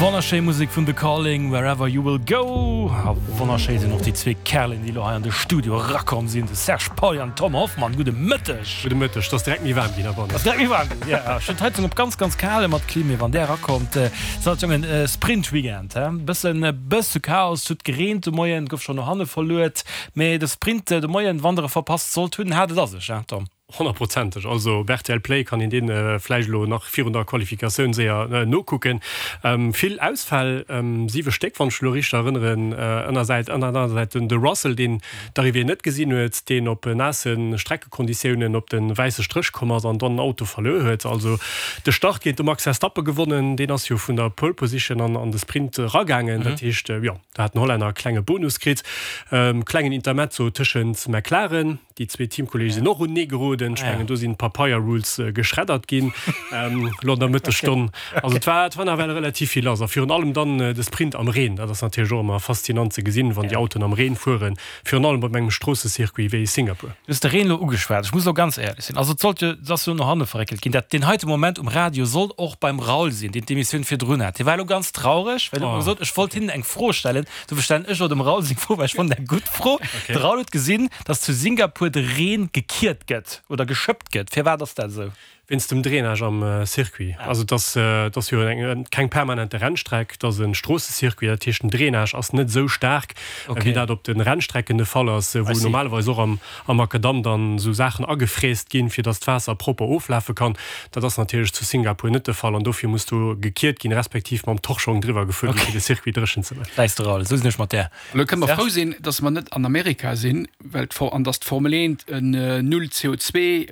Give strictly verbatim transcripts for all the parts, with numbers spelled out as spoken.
Wonnerschéi Musek vun The Calling, Wherever You Will Go. A wonnerschéi sinn och déi zwee Kerlen, déi elo hei an de Studio erakomm sinn, de Serge Pauly an Tom Hoffmann. Gudde Mëtteg. Gudde Mëtteg. Et ass direkt méi waarm ginn heibannen. Ass direkt méi waarm ginn, jo. Ech hunn d'Heizung op ganz, ganz kal mat Klim, mee wann där erakommt, sou Jongen, Sprint-Weekend, he? Bëssen, bësse Chaos, huet gereent de Moien, gouf schonn no hanne verluet, mee de Sprint de Moien, wann der e verpasst sollt hunn, hat et a sech, he Tom? Honnertprozenteg. Also op rtl Play kann een dee vläicht elo nach virun der Qualifikatioun séier nokucken. Vill Ausfäll, siwe Stéck, wann ech elo richteg erënneren. Ënnersäit, ënner anerer Säit den de Russell, deen d'Arrivée net gesinn huet, deen op naasse Streckekonditiounen op de wäisse Stréch komm ass an dann den Auto verluer huet. Also de Start géint de Max Verstappen gewonnen, deen ass jo vun der Pole Position an an de Sprint eragaangen. Dat heescht, jo, do hat den Hollänner e klenge Bonus kritt. Klengen Intermezzo tëschent McLaren, Déi zwee Teamkolleege sinn och unenee geroden. Ech mengen, do sinn d'Papeier-Rules geschreddert ginn elo an der Mëttesstonn. Also et war, et war nawell relativ vill lass. A virun allem dann de Sprint am Reen. Dat ass natierlech och ëmmer faszinant ze gesinn, wann déi Autoen am Reen fueren, virun allem op engem Stroossecircuit wéi Singapur. Du hues de Reen elo ugeschwat. Ech muss elo ganz éierlech sinn, also et sollt jo, et ass jo no hanne verréckelt ginn, dat deen heite Moment um Radio sollt och beim Raoul sinn, deen d'Emissioun virdrun hat. Hie war elo ganz traureg, well hien huet mer gesot, ech wollt hinnen eng Fro stellen. Dofir stellen ech elo dem Raoul seng Fro, well ech fannen dat eng gutt Fro. De Raoul huet gesinn, dass zu Singapur de Reen gekiert gëtt oder geschëppt gëtt. Firwat ass dat esou? Wéinst dem Drainage am Circuit. Also et ass, et ass jo eng, keng permanente Rennstreck, et ass e Stroossecircuit. Dat heescht, den Drainage ass net esou staark, wéi dat op de Rennstrecken de Fall ass, wou normalerweis och am, am Makadamm dann esou Saachen agefräst ginn, fir dass d'Waasser propper oflafe kann. Dat ass natierlech zu Singapur net de Fall an dofir muss do gekiert ginn, respektiv mam Torschong driwwer gefuer ginn, fir de Circuit dréchen ze maachen. Läis de Raoul, esou sinn ech mat där. Elo kënne mer frou sinn, dass mer net an Amerika sinn, well d'For an dass d'Formel eent en Null C O zwee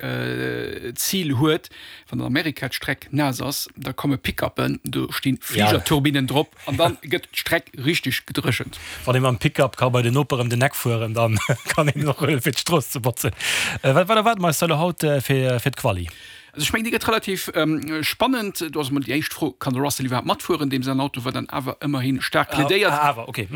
Zil huet. Wann an Amerika d'Streck naass ass, da komme Pickuppen, do sti Fligerturbinnen drop an da gëtt d'Streck richteg gedréchent. Wann ee mam Pickup ka bei den Noper ëm den Eck fueren, da kann een och huelen, fir d'Strooss ze botzen. Wat erwaarde mer eis da elo haut fir d'Quali? Also ech mengen, déi gëtt relativ spannend. Do ass emol déi éischt Fro, Kann de Russell iwwerhaapt matfueren? Deem säin Auto war dann awer ëmmerhi staark plädéiert. Ah, awer, okay.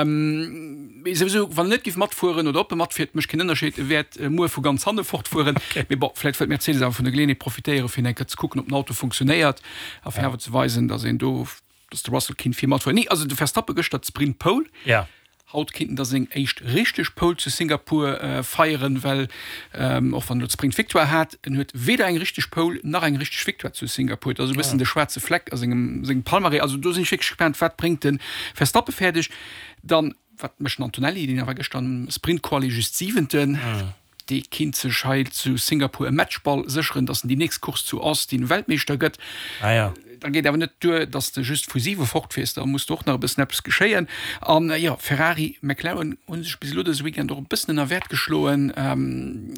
Mee souwisou, wann en net géif matfueren oder ob e matfiert, mécht keen Ënnerscheed, e wäert muer vu ganz hanne fortfueren. Mee bon, vläicht wëllt Mercedes awer vun der Geleeënheet profitéieren, fir eng Kéier ze kucken, ob den Auto funktionéiert a fir awer ze weisen, datt een do, datt de Russell kinnt vir matfueren. Nee, also de Verstappen gëschter d'Sprint Pole. Haut kinnt en da seng éischt richteg Pole zu Singapur feieren, well och wann en elo d'Sprint Victoire hat, en huet weder eng richteg Pole nach eng richteg Victoire zu Singapur. Dat ass e bëssen de schwaarze Fleck a sengem sengem Palmarès. Also do sinn ech wierklech gespaant, wat bréngt de Verstappen fäerdeg. Dann, wat mécht den Antonelli, deen awer gëschter am Sprint Quali just Siwenten. Dee kinnt sech hei zu Singapur e Matchball sécheren, datt en déi nächst Course zu Austin Weltmeeschter gëtt. Da geet awer net duer, datt s de just vu siwe fortfiers, da muss do och nach e bëssen eppes geschéien. An jo, Ferrari, McLaren hu sech bis elo dëse Weekend och e bëssen ënner Wäert geschloen.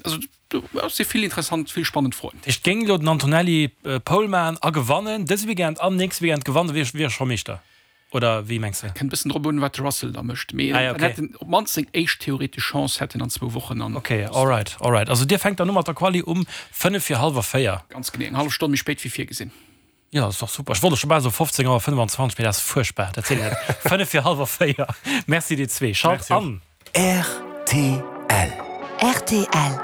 Also do si vill interessant, vill spannend Froen. Dat heescht, géing elo den Antonelli Pole maachen a gewannen dëse Weekend an nächste Weekend gewannen, da wier e scho Meeschter? Oder wéi mengs de? Kënnt bëssen drop un, wat de Russell da mécht. Mee Ah ja, dann okay. hätt en op d'mannst seng éischt theoretesch Chance hätt en an zwou Wochen an. Okay, alright, alright. Also dir fänkt dann u mat der Quali um fënnef vir hallwer véier? Ganz genee, eng hallef Stonn méi spéit wéi virgesinn. Jo, dat ass dach super. Ech wollt och scho bal soe fofzéng Auer fënnwanzwanzeg, mee dat ass fuerchtbar, dat seet een net. Fënnef vir hallwer véier. Merci dir zwee. Schalt Merci och. an! Rtl. Rtl.